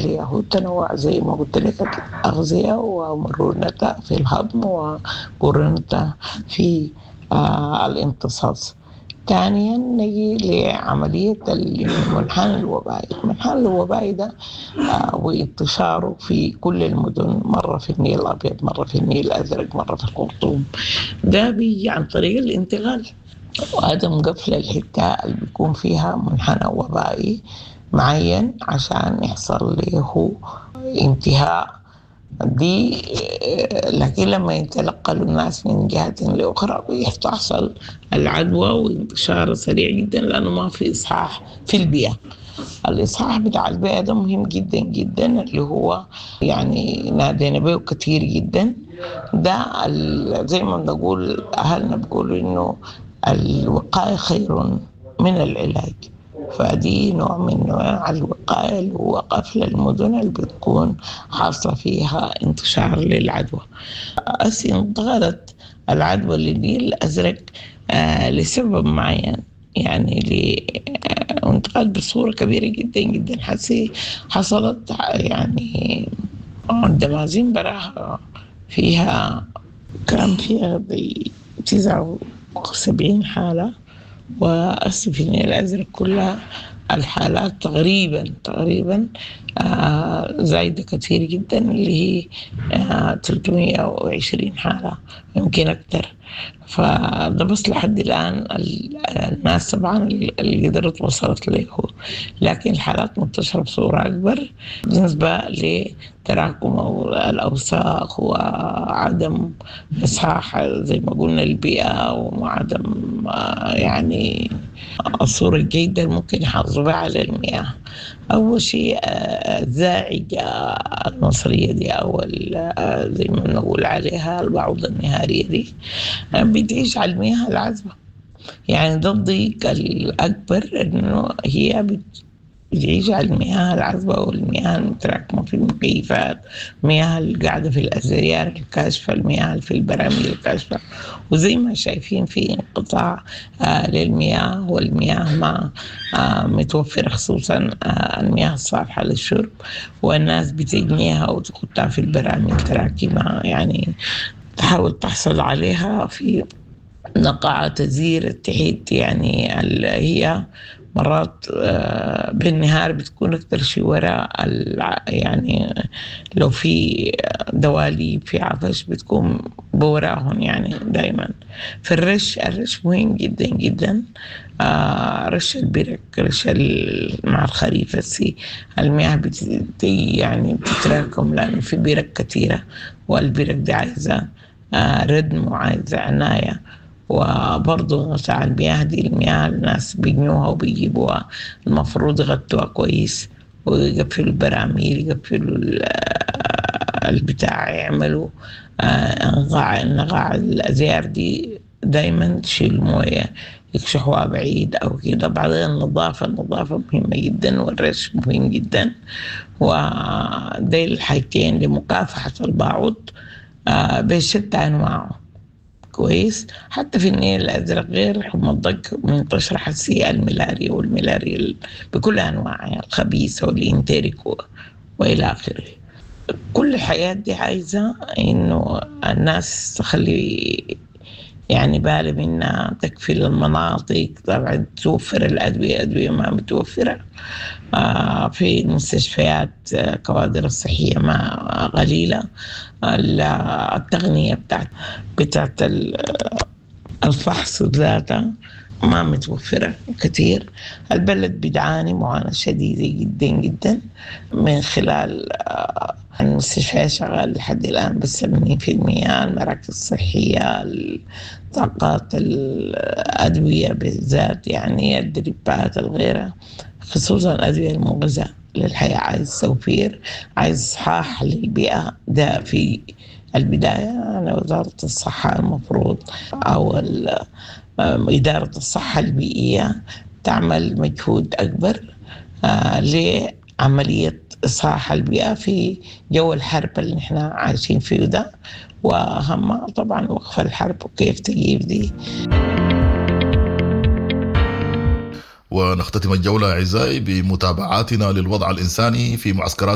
اللي هو التنوع زي ما قلت لك، الأغذية ومرونتها في الهضم ومرونتها في الامتصاص. ثانيا نجي لعملية المنحنى الوبائي. المنحنى الوبائي ده وانتشاره في كل المدن، مرة في النيل الأبيض، مرة في النيل الأزرق، مرة في الخرطوم، ده بيجي عن طريق الانتقال وعدم قفل الحتة اللي بيكون فيها منحنى وبائي معين عشان يحصل له انتهاء دي. لكن لما يتنقلوا الناس من جهة لأخرى بتحصل العدوى وانتشار سريع جدا، لأنه ما في إصحاح في البيئة. الإصحاح بتاع البيئة ده مهم جدا جدا، اللي هو يعني نادينا به كثير جدا. ده زي ما بنقول أهلنا بيقولوا إنه الوقاية خير من العلاج، فدي نوع من أنواع الوقاية اللي هو قفل المدن اللي بتكون حاصلة فيها انتشار للعدوى. أسي انتقلت العدوى للنيل الأزرق لسبب معين، يعني انتقلت بصورة كبيرة جدا جدا. حسي حصلت يعني الدمازين براها فيها كان فيها 79 حالة، وأسي في النيل الأزرق كلها الحالات تقريبا زايدة كثير جدا، اللي هي 320 حالة يمكن أكثر. فده بس لحد الآن الناس طبعا اللي قدرت وصلت له، لكن الحالات منتشرة بصورة أكبر بالنسبة لتراكم الأوساخ وعدم إصحاح زي ما قلنا البيئة، وعدم يعني الصورة الجيدة اللي ممكن يحافظوا بها على المياه. أول شيء الزاعجة المصرية دي أو زي ما نقول عليها البعوضة النهارية دي بتعيش على المياه العذبة. يعني ده الضيق الأكبر، إنه هي بتعيش على المياه العذبة والمياه المتراكمة في المكيفات، المياه القاعدة في الأزريار الكاشفة، المياه في البراميل الكاشفة. وزي ما شايفين في انقطاع للمياه، والمياه ما متوفرة، خصوصا المياه الصالحة للشرب، والناس بتجنيها وتحطها في البراميل تراكمها، يعني تحاول تحصل عليها في نقعة تزير التحيت. يعني هي مرات بالنهار بتكون أكتر شيء وراء، يعني لو في دواليب في عطش بتكون بوراهم يعني دايما. في الرش، الرش مهم جدا جدا، رش البرك، رش مع الخريف السي المياه يعني بتتراكم، لأنه في برك كثيرة، والبرك دي عايزة ردم وعايزة عناية. وبرضه غطاء المياه دي، المياه الناس بيجنوها وبيجيبوها، المفروض يغطوها كويس ويقفلوا البراميل، يقفلوا البتاع، يعملوا نقاع الأزيار دي دايما تشيل موية، يكشحوها بعيد أو كده. بعدين النظافة مهمة جدا، والرش مهم جدا، ودي الحاجتين لمكافحة البعوض بشتى أنواعه. كويس. حتى في النيل الأزرق غير حمى الضنك منتشرة حسية الملاريا، والملاريا بكل أنواعها، الخبيثة والإنتريك وإلى آخره. كل الحياة دي عايزة إنه الناس تخلي يعني بالها منها، تكفي المناطق، طبعا توفر الأدوية، أدوية ما متوفرة في المستشفيات، كوادر الصحية ما قليلة، التقنية بتاعت الفحص ذاتها ما متوفرة كثير. البلد بتعاني معاناة شديدة جدا جدا من خلال المستشفيات شغال لحد الآن بس 80%، المراكز الصحية، الطاقات، الأدوية بالذات، يعني الدريبات الغيرة، خصوصا الأدوية المغذاة للحياة. عايز توفير، عايز إصحاح للبيئة. ده في البداية على وزارة الصحة المفروض أو إدارة الصحة البيئية تعمل مجهود أكبر لعملية إصحاح البيئة في جو الحرب اللي نحن عايشين فيه ده، وأهم طبعا وقف الحرب وكيف تجيب دي. ونختتم الجولة أعزائي بمتابعاتنا للوضع الإنساني في معسكرات